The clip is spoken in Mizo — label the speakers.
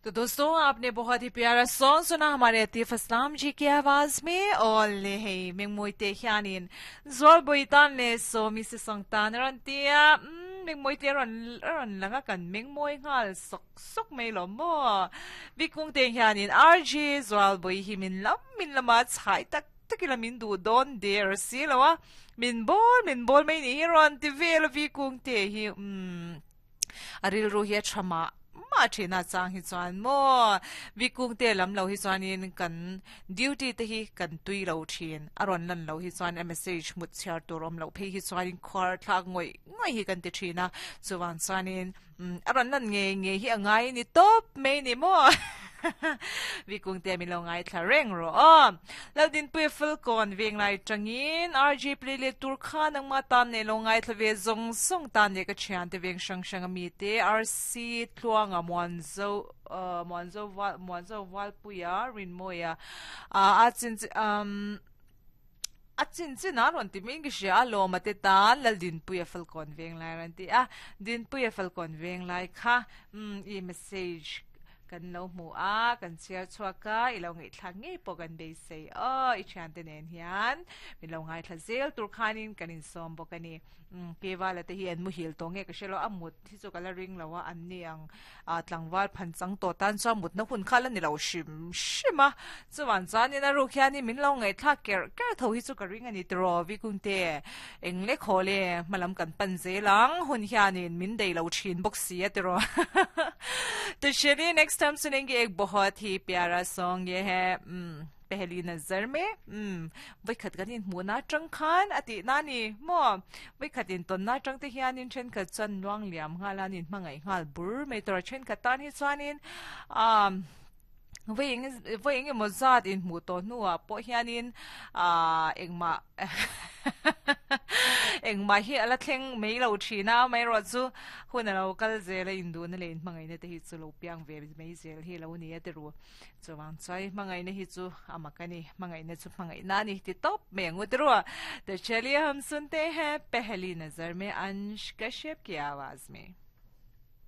Speaker 1: तो दोस्तों आपने बहुत ही प्यारा सॉन्ग सुना हमारे अतीफ असलाम जी की आवाज में और le hei mengmoi te hianin zualboi tan le sawmi se song tan ron tia mengmoi te ron ron langa kan mengmoi ngal sok sok mai lo mo vikung te hianin RG zualboi hi min lam min lama chhai tak takila min du don der si lo a min bol min bol mai ni hi ron ti vel vikung te hi um a rilru hi a tha mah mah thin a chang hi chuan maw vikung te lam lo hi chuanin kan duty te hi kan tui lo thin a rawn lan lo hi chuan a message hmut chhiar tur awm loh phei hi chuanin khuar thlak ngawih ngawih hi kan ti thin a chuvang chuanin a rawn lan ngei ngei hi a ngai a ni tawp mai ni maw Vikung te min lo ngaithla reng rawh aw. Laldinpuia Falkawn venglai tangin RJ play let tur kha nangma tan leh lo ngaithla ve zawng zawng tan leh ka thiante veng hrang hrang ami te RC Tluanga Muanzo Muanzo Val Muanzo Valpuia Rinmawia a chin um a chin chin a rawn ti mai in ka hria a lawma te tan Laldinpuia Falkawn venglai rawn ti a Dinpuia Falkawn venglai kha um i message Kan lo hmu a, kan chhiar chhuak a, i lo ngaihthlak ngei pawh kan beisei aw, i thiante nen hian min lo ngaithla zel tur khanin kan insawm bawk a ni. Umm Kevala te hi an muhil tawh nge ka hre lo, a mut hi chu ka la ring lo a, an ni ang tlangval phan chang tawh tan chuan mutna hun kha la ni lo hrim hrim a, chuvan chuanin a ruk hianin min lo ngaihthlak kerh kerh tho hi chu ka ring a ni tiraw Vikungte, eng lek haw le hmalam kan pan zel ang hun hianin min dei lo thin bawk si a tiraw to chaliye next time sunenge ek bahut hi pyara song ye hai umm pehli nazar me umm vaikhat kan inhmuh na atang khan a tih na ni maw vaikhat intawn na atang te hianin thenkhat chuan luang liam nghal a an inhmangaih nghal bur mai tur a thenkhat tan hi chuanin umm Vawi eng vawi eng emaw zat inhmuh tawh hnuah pawh hianin aaa engmah engmah hi a la thleng mai lo thin a, amaherawh chu hun a lo kal zel a, induhna leh inhmangaihna te hi chu lo piang ve mai zel hi a lo ni a ti ru. Chuvang chuan hmangaihna hi chu a mak a ni, hmangaihna chu hmangaihna a ni ti tawp mai ang u ti ru. To chaliye hum sunte hain pehli nazar mein Ansh Kashyap ki awaaz mein.